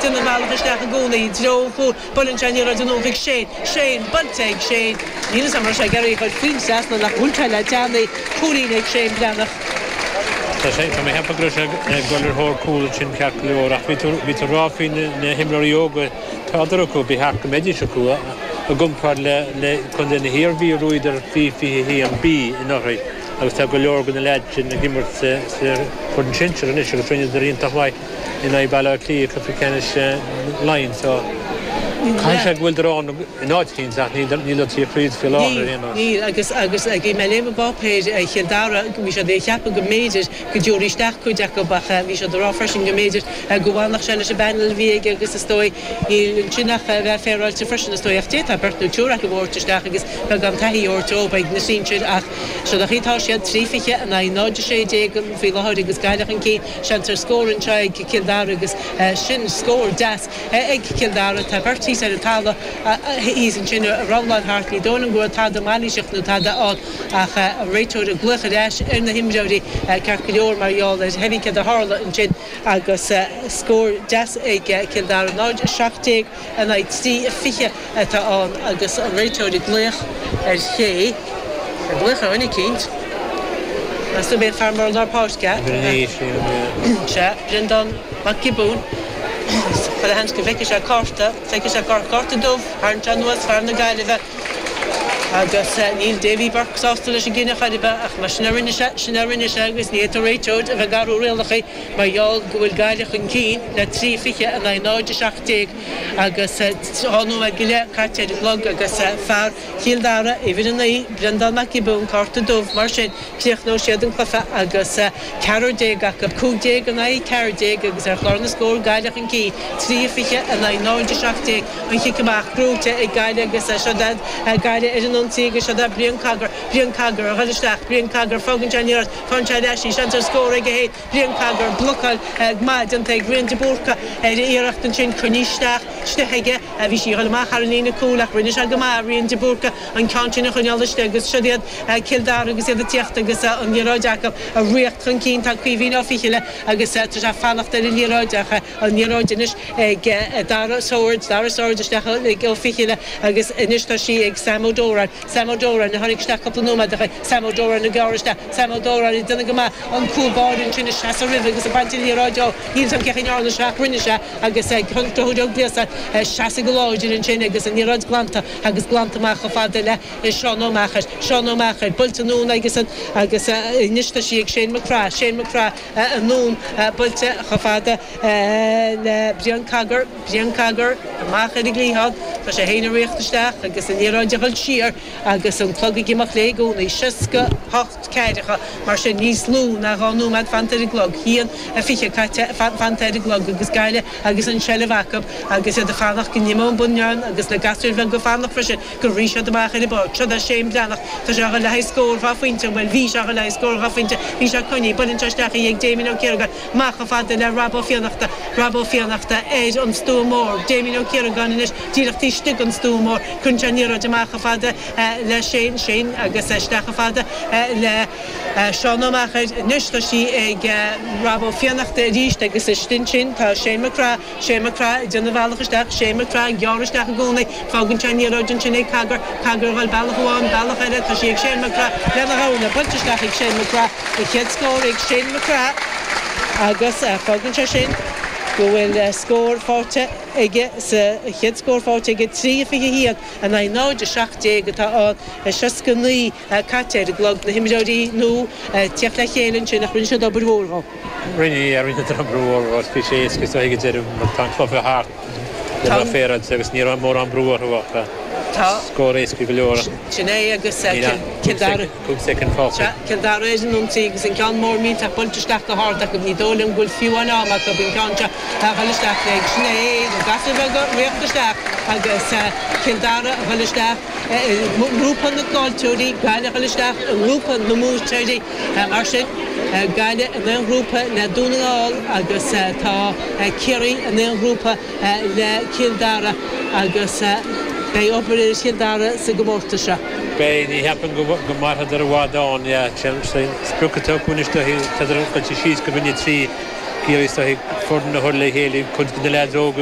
déanamh a bhealach isteach i gcónaí i dtreo an chúil. Buaileann sé an liathróid anonn chuig Shane. Shane, buailte ag Shane. Níl 'fhios a'm raibh sé ag iarraidh a chur faoin trasnán ach bhuail sé le teannaí. Cúilín ag Shane Breathnach. Tá sé, tá mé ag ceapadh go raibh sé ag dul ar thóir cúl ansin ceart go leor ach bhí tú, bhí tú ag rá faoi na himreoirí óga, tádar acu, ba cheart go mbeidís acu i gcomparáid le, le Contae na hIarmhí a bhuadar faoi 21B anuraidh agus tá go leor de na leaids sin ag imirt sa, sa foireann sinsir anois agus rinneadar iontach maith in aghaidh Baile Átha Cliath i gcluiche ceannais Laighean so caithfidh sé go bhfuileadar ann in áit eicínt ach níl siad fríd faoi láthair ar aon nós. Níl, agus agus bhí mé ag léamh i bpáipéir Chill Dara, bhí siad ag ceapadh go mb'fhéidir go dtabharfaí isteach cuid acu ach bhí siad ag rá freisin go mb'fhéidir go bhfanfadh sé leis an bpanel a bhí aige agus is dóigh níl ansin ach a bheith féaráilte freisin is dóigh ach d'fhéadfá beirt nó triúr acu a thabhairt isteach agus beagán taithí a thabhairt dóibh ag na sinsir ach seo an chaoi atá siad, 3-20 in aghaidh 0-16 faoi láthair agus Gaillimh chun cinn. Seans ar scór anseo ag Cill Dara agus sin scór deas ag Cill Dara. Tá beirt thíos ar an talamh thíos ansin ag robhláil thart. Ní dóigh liom go raibh tada mailíseach nó tada ann ach an réiteoir ag glaoch ar ais ar na himreoirí ceart go leor mar gheall ar cibé céard a tharla ansin agus scór deas ag Cill Dara. 0-17 in aghaidh 3-20. atá ann agus an réiteoir ag glaoch ar ché, ag glaoch ar dhuine eicínt. Meas tú ab é an fear mór i lár páirce? Sea, Breandán Mac Giobúin. Chuile sheans go bhfeicfidh sé cárta, feicfidh sé cárta, cárta dubh, tharraing sé anuas fear na Gaillimhe agus níl Davy Burke sásta leis an gcinneadh chor ar bith ach mar sin a rinne sé, sin a rinne sé agus ní fhéadfadh réiteoir a bheith ag athrú rialacha mar gheall go bhfuil Gaillimh chun cinn le 3-20 in aghaidh 0-17. Agus 2 nóiméad go leith caite ar an gclog agus fear Chill Dara, uimhir 9, Breandán Mac Giobúin, cárta dubh, mar sin críochnóidh siad an cluiche agus ceathrar déag acu, 15 in aghaidh 14 agus ar chlár na scór Gaillimh chun cinn, 3-20 in aghaidh 0-17, an chic amach gnóite ag Gaillimh agus seo iad Gaillimh ar an ionsaí agus seo é Brian Cogger, Brian Cogger a dhul isteach, Brian Cogger, fágann sé an liathróid, faigheann sé ar ais í, seans ar scór aige féin. Brian Cogger, Blocáil maith déanta ag Rian de Búrca ar a iarracht ansin coinnithe isteach istigh aige. Bhí sí ag dul amach thar an líne cúil ach rinne sé go maith, Rian de Búrca, an ceann sin a choinneáil istigh agus siod iad Cill Dara agus iad ag tíocht agus an liathróid acu ag ritheacht chun cinn. Tá Caoimhín Ó Fichille agus tá sé ag fanacht ar an liathróid ach an liathróid anois ag Dara Swords, Dara Swords isteach ag Ó Fichille agus anois tá sí ag Sam Ó Dóráin. Sam Ó Dóráin a tháinig isteach cúpla nóiméad ó shin. Sam Ó Dóráin ag gearradh isteach. Sam Ó Dóráin ag déanamh go maith an cúl báire ansin ag seasamh roimhe agus ag baint an liathróid dó. Níl 'fhios a'm cén chaoi a ndearna sé ach rinne sé agus Conchúr Ó Gliasáin ag seasamh go láidir ansin agus an liathróid glanta agus glanta amach chomh fada le Seán Ó Meachair. Seán Ó Meachair buailte anonn aigesean agus anois tá sí ag Shane McGrath. Shane McGrath anonn buailte chomh fada le Brian Cogger. Brian Cogger amach ar an gcliathán. Tá sé féin ag ritheacht isteach agus an liathróid ag dul siar agus an clog ag imeacht léi i gcónaí. 68 ceathracha, mar sin níos lú ná 2 nóiméad fanta ar an gclog. 1:20 caite fanta ar an gclog agus Gaillimh agus an tseilbh acu agus iad ag fanacht go n-imeodh an bunion agus na gasúir bheaga ag fanacht freisin go rithfidh siad amach ar an bpáirc. Seo é Shane Breathnach. Tá sé ag dul le haghaidh scór dhá phointe. Bhuel, bhí sé ag dul le haghaidh scór dhá phointe. Bhí sé coinnithe. Buaileann sé isteach í ag Damien Ó Ciaragáin. Amach chomh fada le Rob Ó Fiannachta, Rob Ó Fiannachta ar an stua mór, Damien Ó Ciaragáin anois díreach taobh istigh den stua mór, cuireann sé an liathróid amach chomh fada le Shane, Shane agus isteach chomh fada le Seán Ó Meachair, anois tá sí ag Rob Ó Fiannachta arís agus istigh ansin tá Shane McGrath, Shane McGrath ag déanamh a bhealach isteach, Shane McGrath ag gearradh isteach i gcónaí, fágann sé an liathróid ansin ag Cogger, Cogger ag dul bealach amháin, bealach eile, tá sí ag Shane McGrath lena ghamhna, buailte isteach ag Shane McGrath, an chéad scór ag Shane McGrath agus fágann sé sin go bhfuil scór faighte aige sa chéad scór faighte aige, 3-21 in aghaidh 0-17 atá ann, 69 caite ar an gclog, na himreoirí nua ag tíocht le chéile ansin ach rinne siad obair mhór dhó. Rinne, yeah, rinne siad obair mhór dhó agus bhí sé éasca is dóigh ag an deireadh mar tá an cluiche thart le bheith féaráilte agus ní raibh mórán brú orthu ach scór éasca go leor. Sin é agus Cill Dara. 5 soicind fágtha. Sea, Cill Dara ar an ionsaí agus an ceann mór millteach buailte isteach go hard acu. Ní dóigh liom go bhfuil fiú amháin am acu an ceann seo a dhul isteach léi. Sin é, na gasúir bheaga ag ritheacht isteach agus Cill Dara a dhul isteach i ngrúpa na gcaillteoirí, Gaillimh a dhul isteach i ngrúpa na mbuaiteoirí. Mar sin, Gaillimh in aon ghrúpa le Dún na nGall agus tá Ciarraí in aon ghrúpa le Cill Dara agus beidh obair ar Chill Dara sa gcomórtas seo. Beidh, ní cheapaim go mairfeadar i bhfad ann, yeah, sprioc atá acu anois dóichí, tádar goite síos go Roinn 3, ag iarraidh is dóichí foireann a chur le chéile, cuid de na leaids óga.